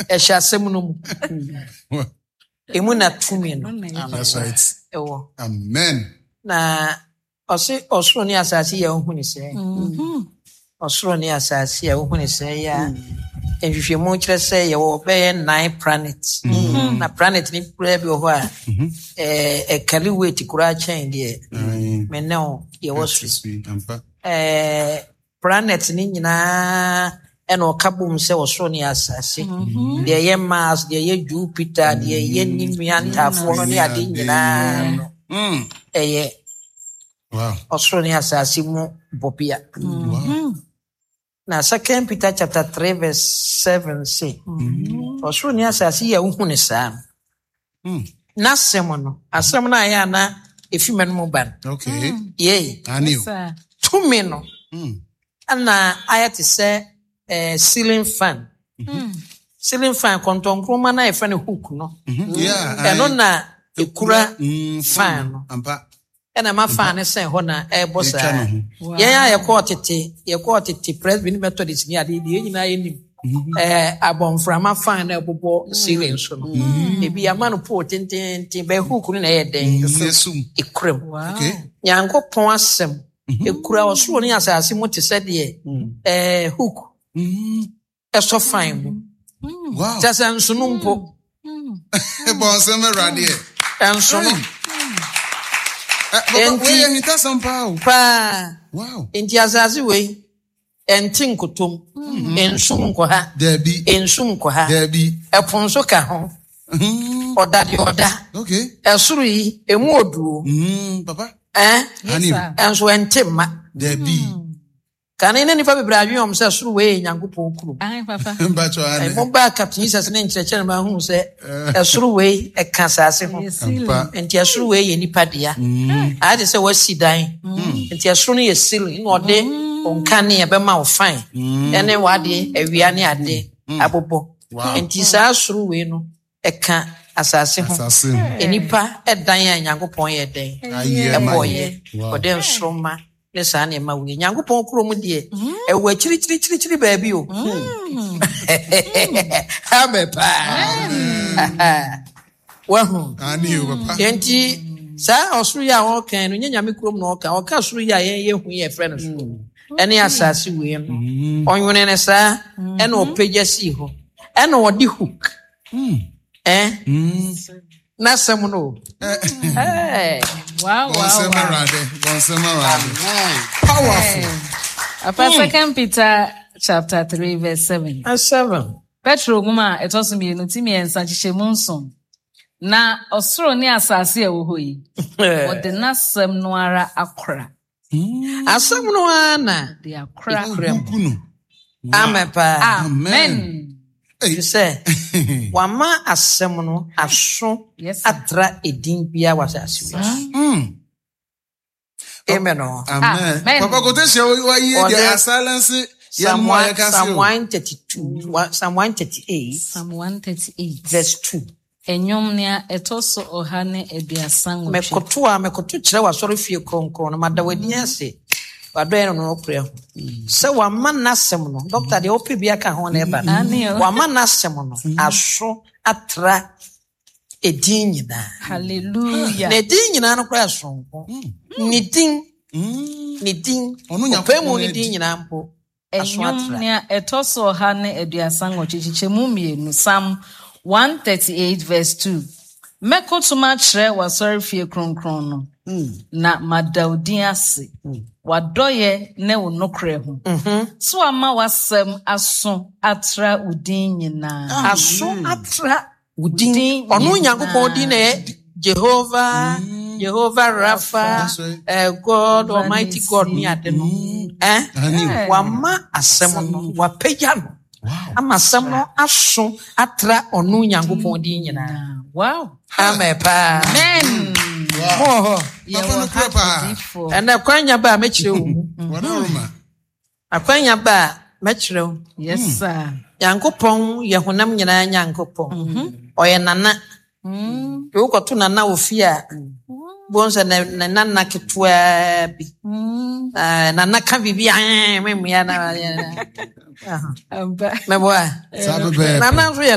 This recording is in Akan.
Ɛhyɛ asɛm no mu. Emu na tumi no That's right. ɛwɔ. Amen. Na ɔse ɔsoro ne asase yɛ wohu ne sɛ. Ɔsoro ne asase a wohu ne sɛ yɛ a nhwehwɛmu kyerɛ sɛ yɛwɔ bɛyɛ nine planet. Na planet ne koraa bi wɔ hɔ a ɛɛ ɛkari weight koraa kyɛn deɛ me ne wo yɛwɔ so. Ampa. Ɛɛ planet ne nyinaa ɛna ɔka bom sɛ ɔsoro ne asase. Deɛ ɛyɛ Mars, deɛ ɛyɛ Jupiter, deɛ ɛyɛ ne nua ntaafoɔ no ne ade nyinaa no ɛyɛ ɔsoro ne asase mu bɔbea. Na Second Peter chapter 3 verse 7 se, ɔsoro ne asase yi a wohu ne saa no, n'asɛm no, asɛm no a ɛyɛ a na efi m'anom ba no, yei, tumi no, ɛna ayɛ te sɛ ceiling fan. Ceiling fan, kɔntɔnkroma no a yɛfrɛ no hook no, ɛno na ekura fan no. Ɛna ɛma fan no sɛn hɔ na ɛrebɔ saa. Yɛn a yɛkɔɔ tete, yɛkɔɔ tete Presby ne Methodist ne adeɛ deɛ, yɛn nyinaa yɛnim abɔnframa fan na ɛbobɔ ceiling so no. Ebi ama no pole tententen, bɛyɛ hook no na ɛyɛ dɛn? Ekura mu. Nyankopɔn asɛm ekura ɔsoro ne asase mu te sɛ deɛ hook ɛsɔ fan mu. Kyɛ sɛ nsono mpo. Bɔnsɛm awuradeɛ. Nsono. Enti ahintasɛm paa o. Paa. Enti asase wei ɛnte nkotom. Nsum nkɔ ha. Daabi. Nsum nkɔ ha. Daabi. Ɛpo nso ka ho. Ɔda deɛ ɔda. Ɛsoro yi emu oduo. Papa. Ɛɛ. Ɛnso ɛnte mma. Daabi. Kane na nnipa bebree adwene wɔn sɛ soro wei yɛ Nyankopɔn kurom. Mo baa Captain Jesus ne nkyerɛkyerɛ no ma hu sɛ ɛsoro wei ɛka asase ho. Nti ɛsoro wei yɛ nipa dea. Ayɛ te sɛ wasi dan. Nti ɛsoro no yɛ ceiling na ɔde nkanea bɛma wo fine. Ɛne wade awia ne ade abobɔ. Nti saa soro wei no ɛka asase ho. Nnipa dan a Nyankopɔn yɛ dɛn? Ɛbɔɔyɛ. Ɔde nsoromma ne saa nneɛma wei. Nyankopɔn kurom deɛ, ɛwɔ akyirikyirikyirikyiri baabi o. Amen paa. Wahu. Enti saa ɔsoro yi a wɔka no, nyɛ Nyame kurom na ɔka. Ɔka soro yi a yɛn yɛhu yi a yɛfrɛ no soro ɛne asase wei no. Ɔnwene no saa ɛna ɔpagya sii hɔ. Ɛna ɔde hook. Eh? N'asɛm no o. Eh. Wow, wow, wow. Powerful. Apa Second Peter chapter 3 verse 7. 7. Petro nwoma a ɛtɔ so mmienu ti mmiɛnsa nkyekyɛmu nson. Na ɔsoro ne asase a ɛwɔ hɔ yi, wɔde n'asɛm no ara akora. Asɛm no ara na De akora. ekura mu. Amen paa. Amen. Ɛfiri sɛ wama asɛm no aso Yes, sir. atra edin biara wɔ asase wei so. Amen o. Amen. Amen. Papa quotation wa yi Ɔde- de asilence yɛn Psalm mu a one, yɛka se Psalm o. 132, Psalm 138, Psalm 138. verse 2. Nnwom nea ɛtɔ so 138. Mekoto a mekoto kyerɛ w'asɔrefie kronkron no, mada w'ani ase w'adɔeɛ no nokorɛ ho. Sɛ wama n'asɛm no, dɔkta deɛ wopɛ bi aka ho na ɛba no, Aane o. wama n'asɛm no aso atra edin nyinaa. Hallelujah. Na edin nyinaa no koraa soronko. Ne din, ne din, Ɔno ɔpɛ mu Nyankopɔn ne din adi. nyinaa mpo aso Nnwom atra. nea ɛtɔ so 138 kyekyɛmu mmienu, Psalm 138 verse 2. Mɛkoto makyerɛ w'asɔrefie kronkron no, na mada wo din ase, w'adɔeɛ ne wo nokorɛ ho. So ama w'asɛm aso atra wo din nyinaa. Aso atra wo din. Din Ɔno nyinaa. Nyankopɔn din na ɛyɛ Jehovah, Jehovah Rapha, That's right. God, Almighty God ne ade no. Eh? Aane. Wama asɛm no, wapagya no. Wow. Ama asɛm no aso atra ɔno Nyankopɔn din nyinaa. Wow. Amen paa. Amen. Mo wɔ hɔ. Papa no Yɛwɔ kura ha paa. odiyifoɔ. Ɛnɛ kwanya ba a mɛkyerɛ wo mu. Wɔdaroma. Akwanya ba a mɛkyerɛ wo. Yes, sir. Nyankopɔn yɛ honam nyinaa Nyankopɔn. Ɔyɛ nana. Nti wokɔto nana wɔ fie a, bohu sɛ ne nana ketewaa bi. Nana ka biribi a, ɛɛ, memmua na. Ampa. Mɛboa. Saa pɛpɛɛpɛ. Nana nso yɛ